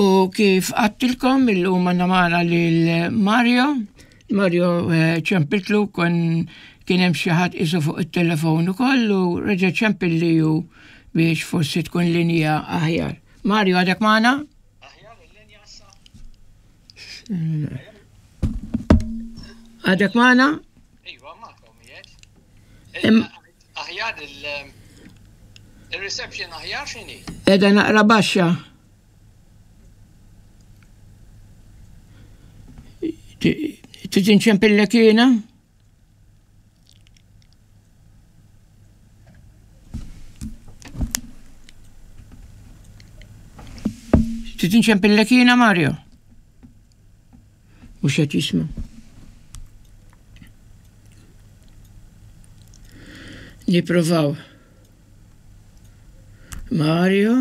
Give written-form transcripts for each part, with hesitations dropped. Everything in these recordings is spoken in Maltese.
U kif għattilkom illum għandna magħna lil Mario, Mario eh, ċempiltlu kon kien hemm xi ħadd isu fuq it-telefon ukoll u reġa' ċempilli hu biex forsi tkun linja aħjar. Mario għadek magħna? Għadek magħna? Iva, magħkom jgħid. Aħjar il-reception aħjar x'inhi? Qiegħda naqra baxxa. Trid inċempillek jiena? Trid inċempillek jiena Mario? Mhux qed jisma'. Nippruvaw. Mario,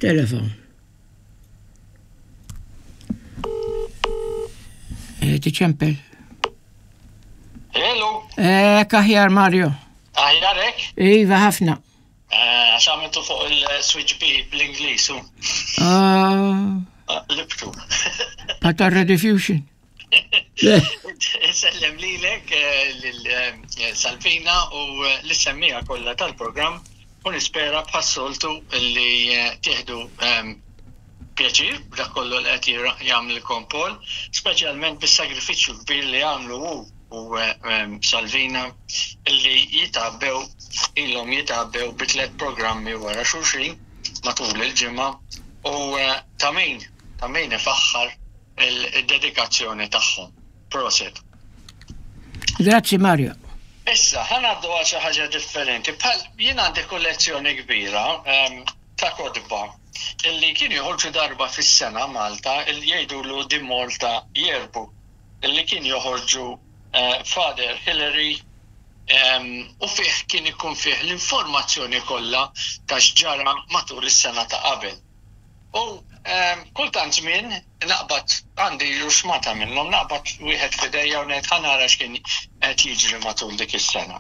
telefon. Eh, tiċempel. Hello. Eh, aħjar Mario. Aħjar hekk? Iva ħafna. Eh, għax għamiltu fuq il-switch B bl-Ingliż. Ah. ah Libtu. Patarra diffusion. Sellem lilek, eh, lil eh, Salvina u l-semmija kollha tal-programm u nispera bħas-soltu li tieħdu ehm, pjaċir b'dak kollu li qed jagħmlilkom Paul, speċjalment bis-sagrifiċċju kbir li għamlu hu u Salvina li jitgħabbew ilhom jitgħabbew bi tlett programmi wara xulxin matul il-ġimgħa u ta' min ta' min ifaħħar id-dedikazzjoni tagħhom. Proset. Grazzi Mario. Issa, ħa ngħaddu għal xi ħaġa differenti. Bħal jien għandi kollezzjoni kbira ta' kotba illi kienu joħorġu darba fis-sena Malta illi jgħidulu The Malta Yearbook illi kien joħorġu Father Hillary u fih kien ikun fih l-informazzjoni kollha ta' x'ġara matul is-sena ta' qabel. U kultant żmien naqbad għandi ruxmata minnhom naqbad wieħed f'idejja u ngħid ħa nara x'kien qed jiġri matul dik is-sena.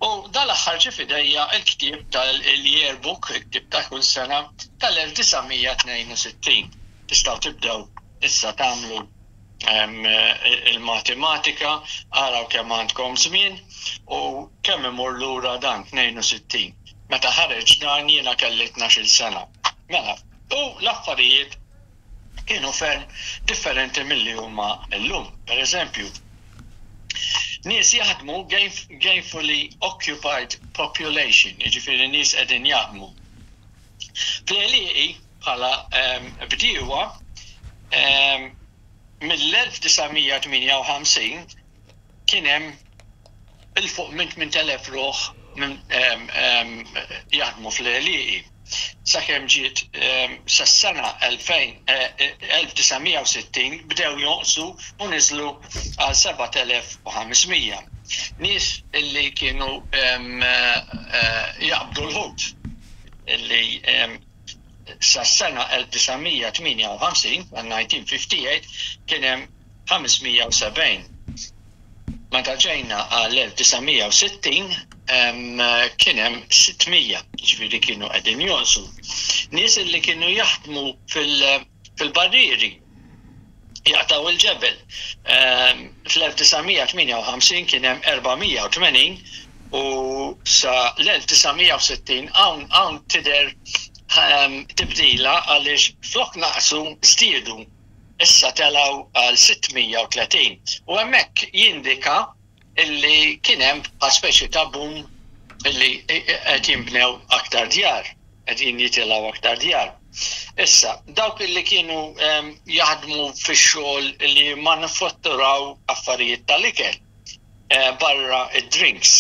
U dal-aħħar ġie f'idejja l-ktieb tal-yearbook, il-ktieb ta' kull sena tal-1962. Tistgħu tibdew issa tagħmlu il-matematika, araw kemm għandkom żmien u kemm imur lura dan 62. Meta ħareġ dan jiena kelli 12-il sena. Mela, u l-affarijiet kienu ferm differenti milli huma llum. Per eżempju, nies jaħdmu gainfully occupied population, jiġifieri nies qegħdin jaħdmu. Fl-għelieqi bħala bdiewa mill-1958 kien hemm 'il fuq minn 8,000 ruħ jaħdmu fl-għelieqi. Sakemm ġiet sas-sena 1960 bdew jonqsu u niżlu għal 7,500. Nies illi kienu jaqbdu l-ħut illi sas-sena 1958, 1958, kien hemm 570. Meta ġejna għal-1960 kien hemm 600, jiġifieri kienu qegħdin jonqsu. Nies li kienu jaħdmu fil-barrieri jaqtgħu l-ġebel. Fl-1958 kien hemm 480 u sa l-1960 hawn hawn tidher tibdila għaliex flok naqsu żdiedu. Issa telgħu għal 630 u hemmhekk jindika illi kien hemm bħal speċi ta' boom illi qed jinbnew aktar djar, qegħdin jitilgħu aktar djar. Issa, dawk illi kienu jaħdmu fix-xogħol li jimmanifatturaw affarijiet tal-ikel barra d-drinks,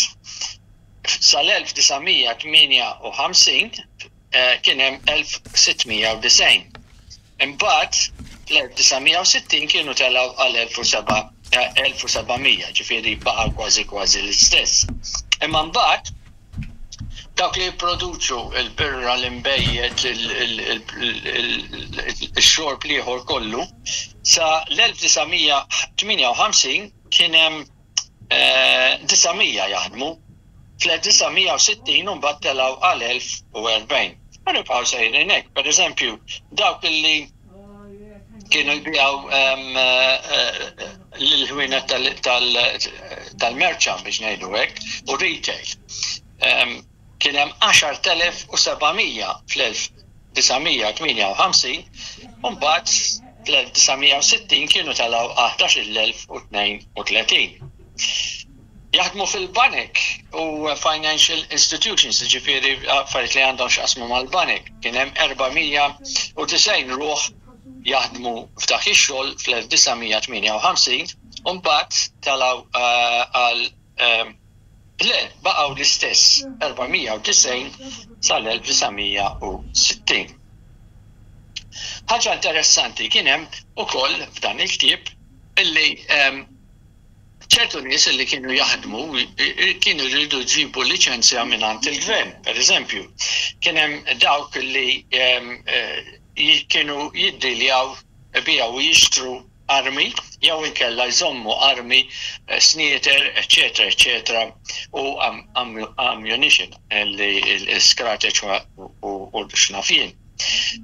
sal-1958 kien hemm 1690. Imbagħad fl-1960 kienu telgħu għal 1700, ġifieri baqgħu kważi kważi l-istess. Imma mbagħad dawk li jipproduċu l-birra, l-inbejjed, ix-xorb l-ieħor kollu, sa l-1958 kien hemm 900 jaħdmu. Fl-1960 mbagħad telgħu għal 1040. U nibqgħu sejrin hekk. Pereżempju, dawk li Kienu jbijaw l-ħwienet tal-merċa biex ngħidu hekk u retail. Kien hemm 10,700 fl-1958 u mbagħad fl-1960 kienu telgħu għal 11,032. Jaħdmu fil-banek u financial institutions, jiġifieri affarijiet li għandhom x'jaqsmu mal-banek. Kien hemm 490 ruħ jaħdmu f'dak ix-xogħol fl-1958 u mbagħad telgħu għal le, baqgħu l-istess 490 sal-1960. Ħaġa interessanti kien hemm ukoll f'dan il-ktieb illi ċertu nies li kienu jaħdmu kienu jridu jġibu liċenzja mingħand il-gvern. Per eżempju, kien hemm dawk li kienu jiddiljaw ibiegħu u jixtru armi jew inkella jżommu armi, snieter, eċċetera, eċċetera, u ammunition, li l-skrateċ u x'naf jien.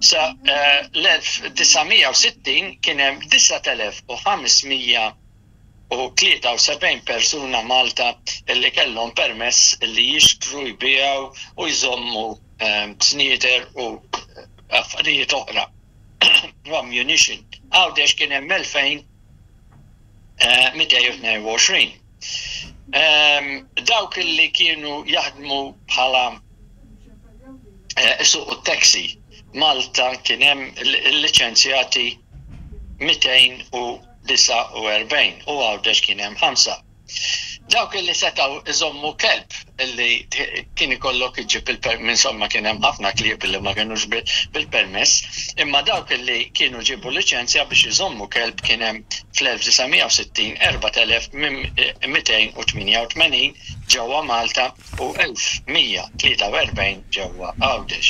Sa l-1960 kien hemm 9500 73 persuna Malta li kellhom permess li jixtru, jbigħu u jżommu snieter u affarijiet oħra u ammunition. Għawdex kien hemm 2222. Dawk li kienu jaħdmu bħala isuqu t-taxi Malta kien hemm il-liċenzjati 249 u Għawdex kien hemm 5. Dawk li setgħu iżommu kelb li kien ikollok iġġib il-permess, insomma kien hemm ħafna klieb li ma kinux bil-permess, imma dawk li kienu ġiebu liċenzja biex iżommu kelb kien hemm fl-1960 4288 ġewwa Malta u 1143 ġewwa Għawdex.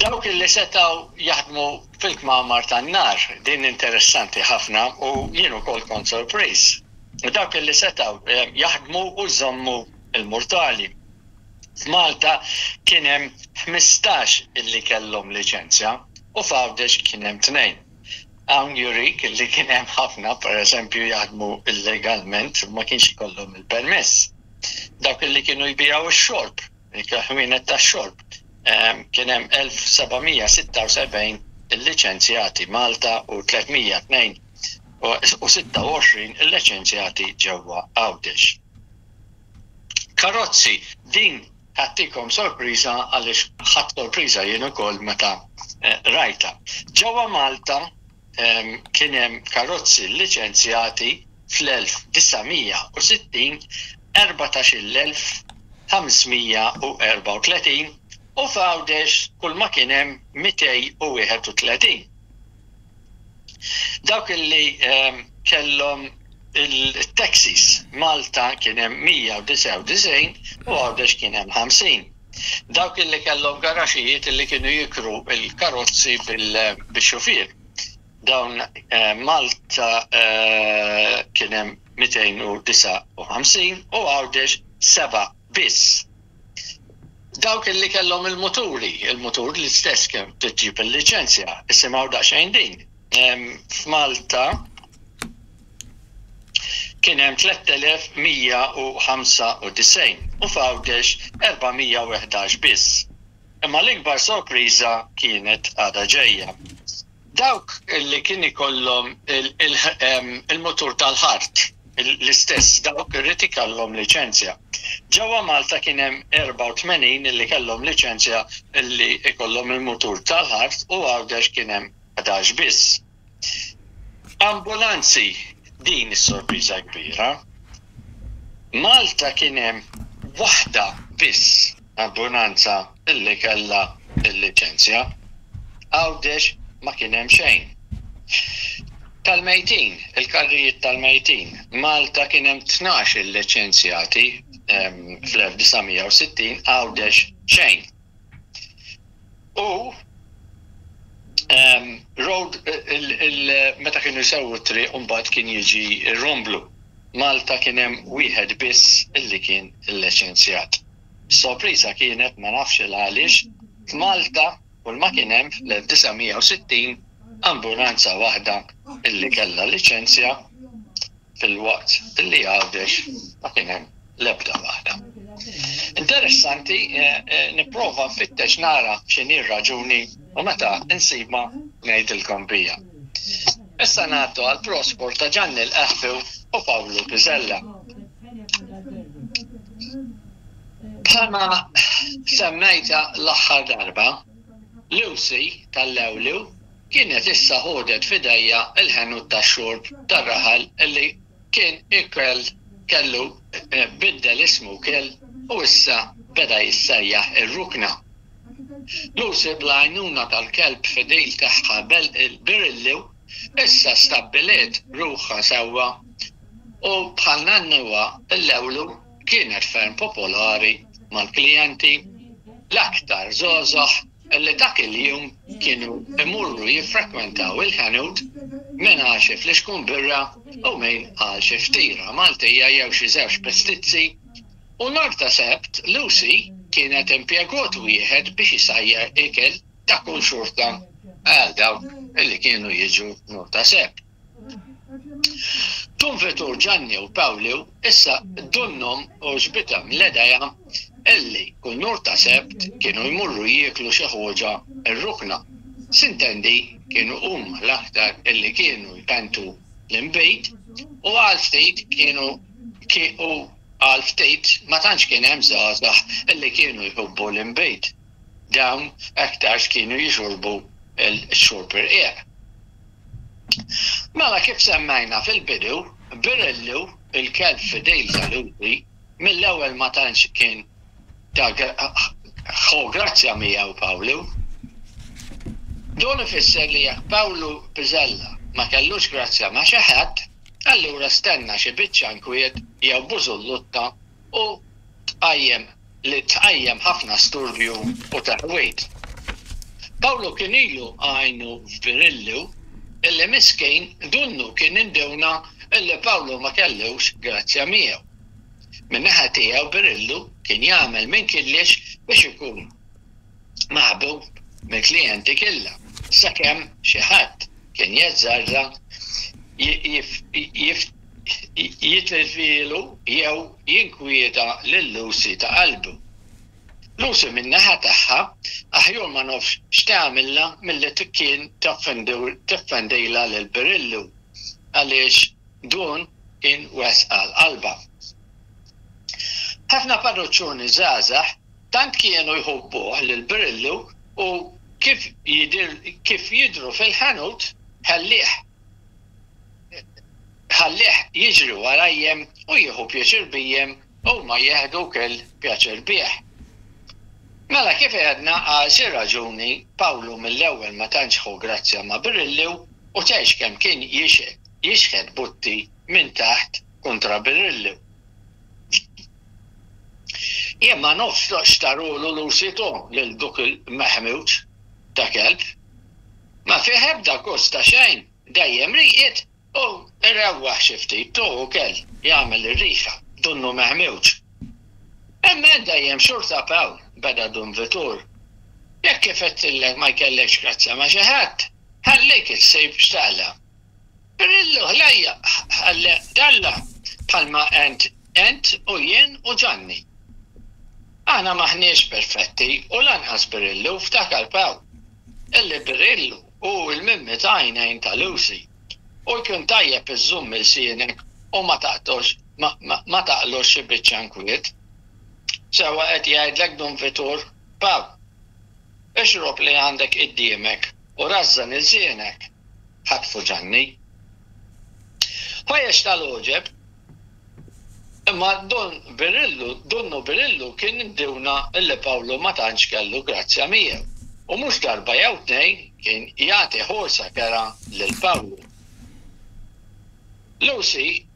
Dawk li setgħu jaħdmu fil-kmamar tan-nar, din interessanti ħafna u jien ukoll kont sorpriż. Dawk li setgħu jaħdmu u jżommu l-murtali. F'Malta kien hemm 15 illi kellhom liċenzja u f'Għawdex kien hemm tnejn. Hawn jurik illi kien hemm ħafna pereżempju jaħdmu illegalment u ma kienx ikollhom il-permess. Dawk illi kienu jbigħu x-xorb, il-ħwienet tax-xorb, kien hemm 1776 illiċenzjati Malta u 326 illiċenzjati ġewwa Għawdex. Karozzi, din ħattikom sorpriża għaliex ħadt sorpriża jien ukoll meta rajtha. Ġewwa Malta kien hemm karozzi lliċenzjati fl-1960 14,534 u f'Għawdex kull ma kien hemm 231. Dawk illi kellhom il-taxis Malta kien hemm 199 u Għawdex kien hemm 50. Dawk illi kellhom garaxijiet illi kienu jikru l-karozzi bil-xufier. Dawn Malta kien hemm 259 u Għawdex 7 biss. Dawk illi kellhom il-muturi, il-mutur l-istess kemm trid tġib il-liċenzja, isimgħu daqsxejn din. F'Malta kien hemm 3195 u f'Għawdex 411 biss. Imma l-ikbar sorpriża kienet għadha ġejja. Dawk li kien ikollhom il-mutur tal-ħart, l-istess dawk irid ikollhom liċenzja. Ġewwa Malta kien hemm 84 li kellhom liċenzja li jkollhom il-mutur tal-ħart u Għawdex kien hemm 11 biss. Ambulanzi, din is-sorpriża kbira. Malta kien hemm waħda biss ambulanza illi kellha l-liċenzja. Għawdex ma kien hemm xejn. Tal-mejtin, il-karrijiet tal-mejtin, Malta kien hemm 12 il-liċenzjati fl-1960, Għawdex xejn. U road meta kienu jsewwu t-triq u mbagħad kien jiġi r-romblu. Malta kien hemm wieħed biss illi kien illiċenzjat. Is-sorpriża kienet ma nafx il għaliex f'Malta kull ma kien hemm fl-1960 ambulanza waħda illi kellha liċenzja filwaqt illi Għawdex ma kien hemm l-ebda waħda. Interessanti, nipprova nfittex nara x'inhi r-raġuni u meta nsibha ngħidilkom bija. Issa ngħaddu għall-prospor ta' Ġanni l-Qehbiw u Pawlu Pisella. Bħalma semmejtha l-aħħar darba, Lucy tal-Lewlew kienet issa ħodet f'idejha l-ħanut tax-xorb tar-raħal li kien ikel kellu biddel ismu wkill u issa beda jissejjaħ ir-Rukna. Lucy bl-għajnuna tal-kelb fidil tagħha il-Birillu issa stabbiliet ruħha sewwa u bħal nannuha l-Lewlu kienet ferm popolari mal-klijenti, l-aktar żgħożagħ li dak il-jum kienu jmorru jiffrekwentaw il-ħanut, min għal xi flixkun birra u min għal xi ftira Maltija jew xi żewġ pestizzi. U nhar ta' Sebt Lucy kienet impjegot wieħed biex isajjar ikel ta' kull xorta għal dawk li kienu jiġu nhar ta' Sebt. Dun Vitur Ġanni u Pawlu issa donnhom għoġbithom l-idea illi kull nhar ta' Sebt kienu jmorru jieklu xi ħoġa r-rukna. Sintendi kienu huma l-aktar illi kienu jpentu l-inbid u għal ftit kienu u għal ftit ma tantx kien hemm żgħażagħ illi kienu jħobbu l-inbid. Dawn aktarx kienu jixorbu x-xorb irqiq. Mela kif semmejna fil-bidu, Birillu, il-kelb fidil ta' Lucy, mill-ewwel ma tantx kien ta' ħu grazzja miegħu Pawlu. Dun ifisser li jekk Pawlu Pisella ma kellux grazzja ma' xi ħadd, allura stenna xi biċċa nkwiet jew bużullutta u tqajjem li tqajjem ħafna storbju u taħwid. Pawlu kien ilu għajnu f'Birillu illi miskin dunnu kien induna illi Pawlu ma kellux grazzja miegħu. Min-naħa tiegħu Birillu kien jagħmel minn killiex biex ikun maħbub mill-klijenti killha, sakemm xi ħadd kien jazzarda jitlfielu jew jinkwieta lil Lucy ta' qalbu. Lucy min-naħa tagħha aħjur ma nafx x'tagħmilha milli kien tiffendilha lil Birillu għaliex dun kien wisq għal qalbha. Ħafna parruċċuni żgħażagħ tant kienu jħobbuh lil Birillu u kif kif jidhru fil-ħanut ħallih Ħallih jiġri warajjem u jieħu pjaċir bijjem, huma jieħdu wkoll pjaċir bih. Mela kif għedna għal xi raġuni Pawlu mill-ewwel ma tantx ħu grazzja ma' Birillu u tgħix kemm kien jixħet butti minn taħt kontra Birillu. Jien ma nafx x'tarulu Lucy tu lil duk il-meħmuġ ta' kelb. Ma fih ebda gost ta' xejn, dejjem rieqed u irewwaħ xi ftit tu ukoll jagħmel ir-riħa, donnu meħmuġ. Imma int dejjem xorta Pawl, beda Dun Vitur. Jekk kif għedtillek ma jkellekx grazzja ma' xi ħadd, ħallik issib x'taqla'. Birillu ħlejja t'Alla bħalma għent ent u jien u Ġanni. Aħna m'aħniex perfetti u lanqas Birillu, ftakar Pawl. Illi Birillu hu l-mimmi ta' għajnejn ta' Lucy. U jkun tajjeb iżżomm ilsienek u ma taqtox ma taqlux xi biċċa nkwiet. Sewwa qed jgħidlek Dun Vitur, Pawl. Ixrob li għandek qiddiemek u rażżan ilsienek, ħatfu Ġanni. Ħwejjeġ tal-għoġeb Imma Dun Birillu, Dunnu Birillu kien induna illi Pawlu ma tantx kellu grazzja miegħu, u mhux darba jew tnejn kien jagħti ħorsa kerha lil Pawlu. Lucy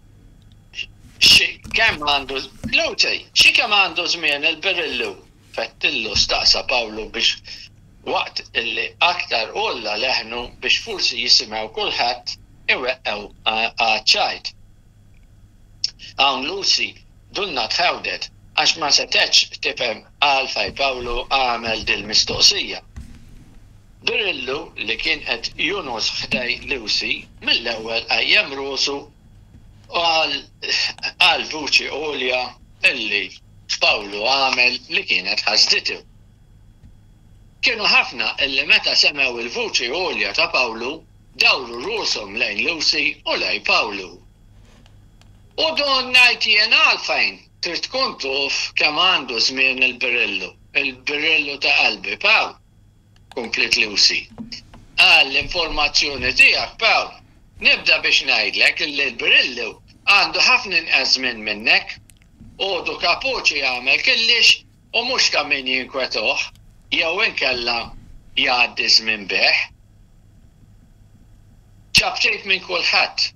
xi kemm għandu Lucy, xi kemm għandu żmien il-Birillu? Fettillu staqsa Pawlu biex waqt illi aktar għolla leħnu biex forsi jisimgħu kulħadd iweqqgħu għaċ-ċajt. Hawn Lucy dunna tħewdet għax ma setgħetx tifhem għalfejn Pawlu għamel dil-mistoqsija. Birillu li kien qed jonqos ħdej Lucy mill-ewwel qajjem rusu u qal qal vuċi għolja illi Pawlu għamel li kienet ħasditu. Kienu ħafna illi meta semgħu il-vuċi għolja ta' Pawlu dawru rushom lejn Lucy u lejn Pawlu. U don ngħid jien għalfejn trid tkun tuf kemm għandu żmien il-Birillu, il-Birillu ta' qalbi, Pawl, kompliet Lucy. Għall-informazzjoni tiegħek, Pawl, nibda biex ngħidlek illi l-Birillu għandu ħafna inqas żmien minnek. Għodu kapuċi jagħmel killix u mhux ta' min jinkwetoh jew inkella jgħaddi ż-żmien bih. Ċapċip minn kulħadd.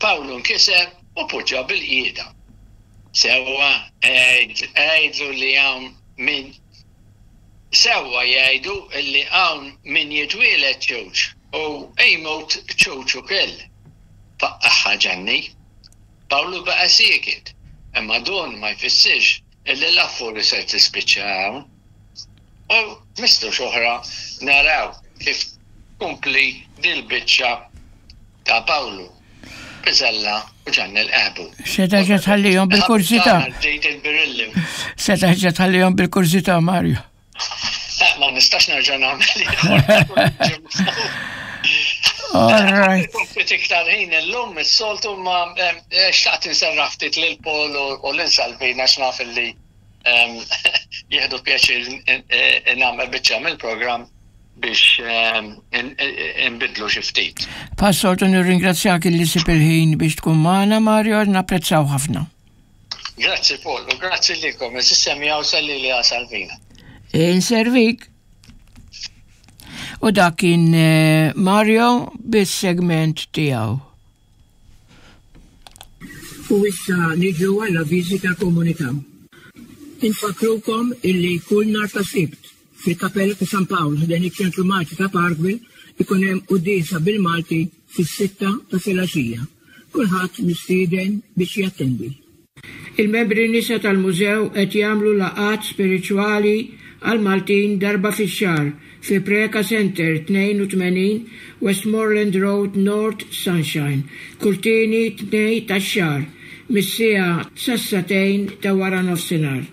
Pawlu nkiser u poġġa bil-qiegħda. Sewwa għidlu li hawn min Sewwa jgħidu li hawn min jitwieled ċuċ u jmut ċuċ ukill, faqqagħha Ġanni. Pawlu baqa' sieket, imma dun ma jfissirx illi l-affuri ser tispiċċa hawn. U mistux oħra naraw kif tkompli dil-biċċa ta' Pawlu, Piżella u Ġanni l-Qehbu. Se terġa' tħallihom bil-kurżità. Se terġa' tħallihom bil-kurżità, Mario. Eh, ma nistax nerġa' nagħmel All right. Ftit iktar ħin illum is-soltu ma eh, xtaqt inserraħ ftit lil Paul u lil Salvina għax naf illi ehm, jieħdu pjaċir eh, nagħmel biċċa mill-programm biex ehm, inbidlu xi ftit. Passoltu nirringrazzjak illi sib il-ħin biex tkun magħna Mario, napprezzaw ħafna. Grazzi Paul, u grazzi lilkom, is-semjaw salli li Salvina. Inservik. U dak kien eh, Mario bis-segment tiegħu. U issa niġu għal avviżi tal-komunità. Infakkrukom illi kull nhar ta' Sibt fil-Kapella ta' San Pawl ħdejn iċ-Ċentru Malti ta' Parkville ikun hemm quddiesa bil-Malti fis-sitta ta' filgħaxija. Kulħadd mistieden biex jattendi. Il-membri nisa tal-Mużew qed jagħmlu laqgħat spiritwali għall-Maltin darba fix-xahar fi Preca Centre 82 Westmoreland Road North Sunshine kull tieni Tnejn tax-xahar mis-siegħa sas-sagħtejn ta' waranofsinhar.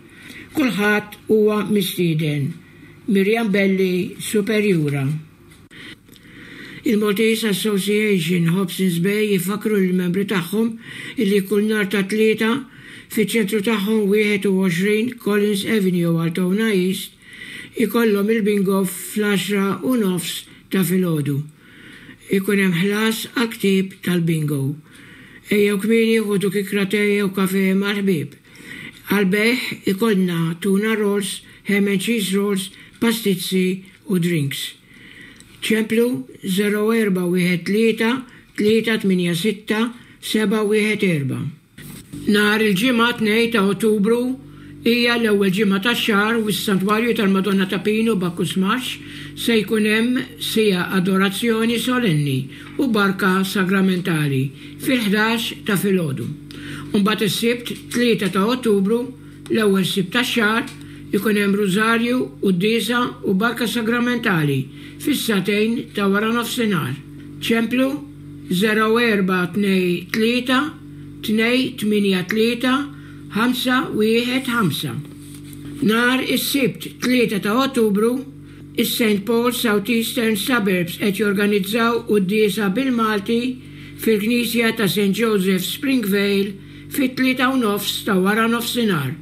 Kulħadd huwa mistieden. Miriam Belli, Superjura. Il-Maltese Association Hobsons Bay ifakkru lill-membri tagħhom illi kull nhar ta' Tlieta, fiċ-ċentru tagħhom 21 Collins Avenue Altona East, ikollhom il-bingo fl-għaxra u nofs ta' filgħodu. Ikun hemm ħlas għall-ktieb tal-bingo. Ejjew kmieni ħudu kikra te jew kafè mal-ħbieb. Għall-bejgħ ikollna tuna rolls, ham and cheese rolls, pastizzi u drinks. Ċemplu 0413 386 714. Nhar il-Ġimgħa 2 ta' Ottubru hija l-ewwel ġimgħa tax-xahar u fis-Santwarju tal-Madonna ta' Pinu Bacchus Marsh se jkun hemm siegħa adorazzjoni solenni u barka sagramentali fil-ħdax ta' filgħodu. U mbagħad is-Sibt 3 ta' Ottubru L-ewwel Sibt tax-xahar ikun hemm Rużarju, Quddiesa u Barka Sagramentali fis-sagħtejn ta' waranofsinhar. Ċemplu 0423 283 515. Nhar is-Sibt 3 ta' Ottubru, is-St Paul's South Eastern Suburbs qed jorganizzaw quddiesa bil-Malti fil-Knisja ta' St Joseph Springvale Fit-tlieta u nofs ta' wara nofsinhar,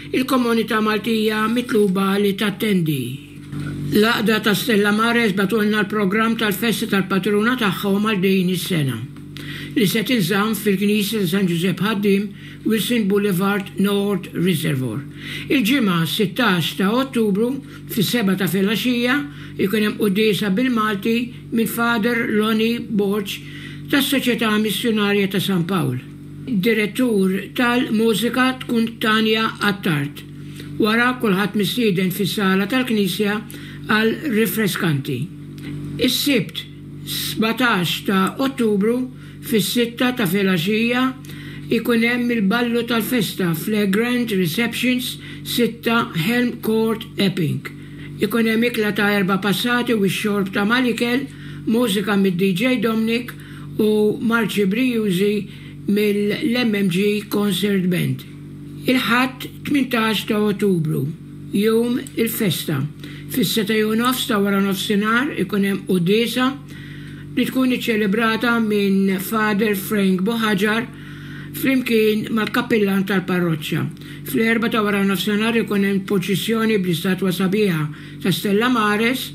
il-komunità Maltija mitluba li tattendi. L-Għaqda ta' Stella Mares bagħtulna l-programm tal-festa tal-patruna tagħhom għal din is-sena, li se tinżamm fil-Knisja ta' San Ġużepp Ħaddiem, Wilson Boulevard, North Reservoir. Il-Ġimgħa 16 ta' Ottubru, fis-sebgħa ta' filgħaxija, ikun hemm quddiesa bil-Malti minn Father Lonnie Borg tas-Soċjetà Missjunarja ta' San Pawl. Direttur tal-mużika tkun Tania Attard. Wara kulħadd mistieden fis-sala tal-Knisja għal rifreskanti. Is-Sibt 17 ta' Ottubru fis-sitta ta' filgħaxija jkun hemm il-ballu tal-festa f'Le Grand Receptions 6 Helm Court Epping. Ikun hemm ikla ta' erba' passati u x-xorb ta' mal-ikel, mużika mid-DJ Dominic u marċi brijużi mill-MMG Concert Band. Il-Ħadd 18 ta' Ottubru, jum il-festa, fis-setgħa u nofs ta' waranofsinhar ikun hemm quddiesa li tkun iċċelebrata minn Father Frank Buhaġar flimkien mal-kappillan tal-parroċċa. Fl-erbgħa ta' waranofsinhar ikun hemm purċissjoni bl-istatwa sabiħa ta' Stella Maris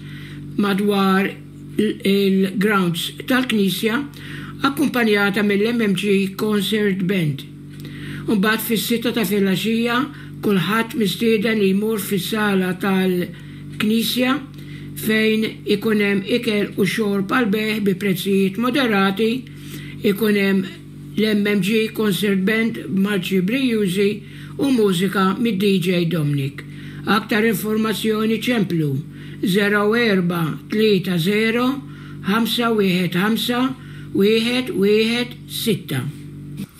madwar il-grounds tal-knisja akkumpanjata mill-MMG Concert Band. Imbagħad fis-sitta ta' filgħaxija kulħadd mistieden li jmur fis-sala tal-knisja fejn ikun hemm ikel u xorb għall-bejgħ bi prezzijiet moderati, ikun hemm l-MMG Concert Band b'marċi brijużi u mużika mid-DJ Dominic. Aktar informazzjoni ċemplu 0430 515 116.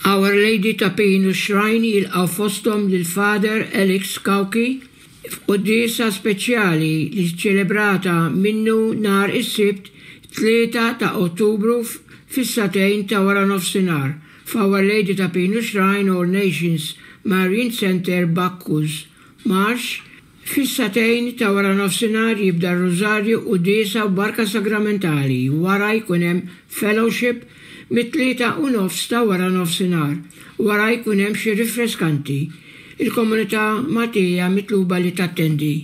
Our Lady ta' Pinu Shrine jilqgħu fosthom lil Father Alex Cauchi F'quddiesa speċjali li ċċelebrata minnu nhar is-Sibt 3 ta' Ottubru fis-sagħtejn ta' waranofsinhar f'Our Lady ta' Pinu Shrine All Nations Marian Centre Bacchus Marsh, fis-sagħtejn ta' waranofsinhar jibda r-Rużarju quddiesa u Barka Sagramentali, wara jkun hemm fellowship mit-tlieta u nofs ta' waranofsinhar, wara jkun hemm xi rifreskanti. Il-komunità Maltija mitluba li tattendi.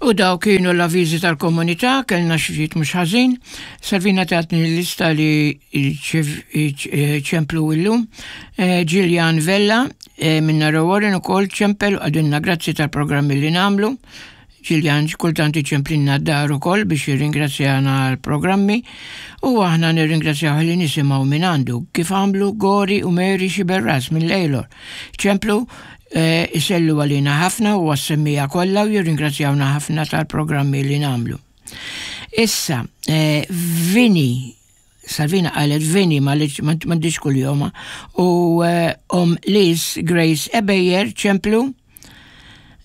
U daw kienu l-avviżi tal-komunità, kellna xi ftit mhux ħażin. Salvina tatni l-lista li ċemplu illum. Eh, Gillian Vella eh, minna Warren ukoll ċempel u għadinna grazzi tal-programmi li namlu. Ġiljan kultant iċemplinna d-dar ukoll biex jirringrazzjana għall-programmi u aħna nirringrazzjaw li nisimgħu minn għandu kif għamlu Gori u Mary Xiberras minn Lejlor. Ċemplu eh, isellu għalina ħafna u għas-semmija kollha u jirringrazzjawna ħafna tal-programmi li nagħmlu. Issa, eh, Vini Salvina qalet Vini ma m'għandix kuljoma u eh, om Liz Grace Ebejer ċemplu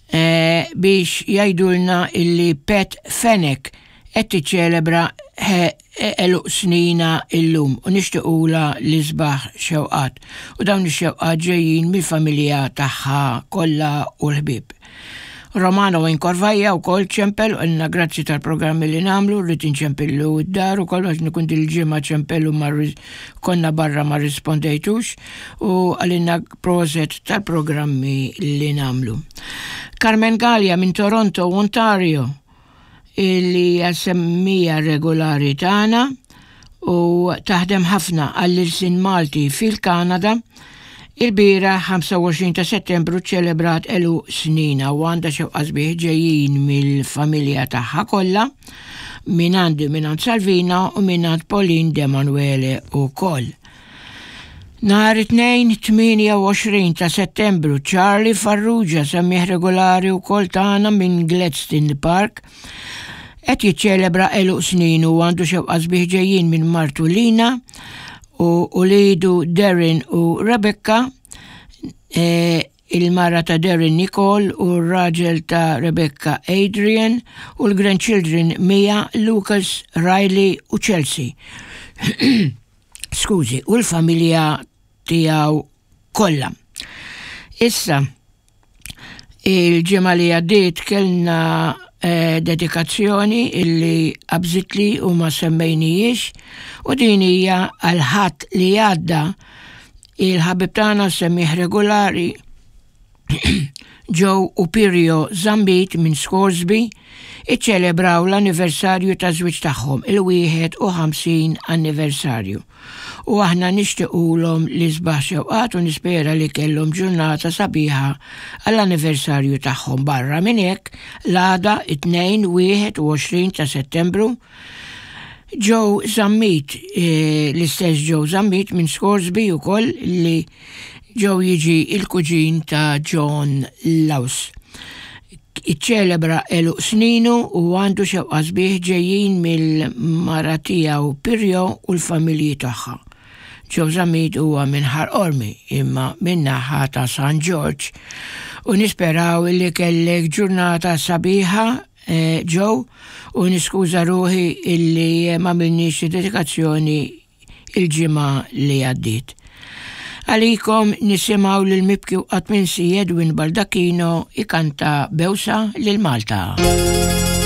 eh, biex jgħidulna illi Pet Fenek qed tiċċelebra eluq snina illum u nixtiequla l-isbaħ xewqat u dawn ix-xewqat ġejjin mill-familja tagħha kollha u l-ħbieb. Romano Incorvaja wkoll ċempel u qalilna grazzi tal-programmi li nagħmlu, rrid inċempillu d-dar ukoll għax nikun dil-ġimgħa ċempel u konna barra ma rispondejtux u qalilna proset tal-programmi li nagħmlu. Carmen Gallia minn Toronto, Ontario illi hija semmija regolari tagħna u taħdem ħafna għall-ilsien Malti fil-Kanada, ilbieraħ 25 ta' Settembru ċċelebrat għeluq sninha u għandha xewqa sbieħ ġejjin mill-familja tagħha kollha, mingħandi mingħand Salvina u mingħand Pauline Demanuele wkoll. Nhar it-Tnejn 28 ta' Settembru, Charlie Farrugia, semmiegħ regolari wkoll tagħna minn Gladstone Park, qed jiċċelebra għeluq sninu u għandu xewqa sbieħ ġejjin minn martu Lina u uliedu Darren u Rebecca, e, il-mara ta' Darren Nicole u r-raġel ta' Rebecca Adrian u l-grandchildren Mia, Lucas, Riley u Chelsea. skużi, u l-familja tiegħu kollha. Issa, il-ġimgħa li għaddiet kellna eh, dedikazzjoni illi qabżitli u ma semmejnijiex u din hija għal ħadd li għadda il-ħabib tagħna semmih regolari Joe u Pirio Zammit minn Scoresby iċċelebraw l-anniversarju taż-żwieġ tagħhom, il-51 anniversarju. U aħna nixtiqulhom l-isbaħ xewqat u nispera li kellhom ġurnata sabiħa għall-anniversarju tagħhom. Barra minn hekk, l-għada it-Tnejn 21 ta' Settembru, Joe Zammit, eh, l-istess Joe Zammit minn Scoresby ukoll li Joe jiġi il-kuġin ta' John Laus. Iċċelebra għeluq sninu u għandu xewqa sbieħ ġejjin mill-mara tiegħu Pirjo u l-familji tagħha. Joe Zammit huwa minn Ħal Qormi imma min-naħa ta' San Ġorġ u nisperaw li kellek ġurnata sabiħa eh, Joe u niskuża ruħi illi m'għamilniex dedikazzjoni il-ġimgħa li għaddiet. Għalikom nisimgħu lil mibki u qatt minsi Edwin Baldacchino ikanta Bewsa lil Malta.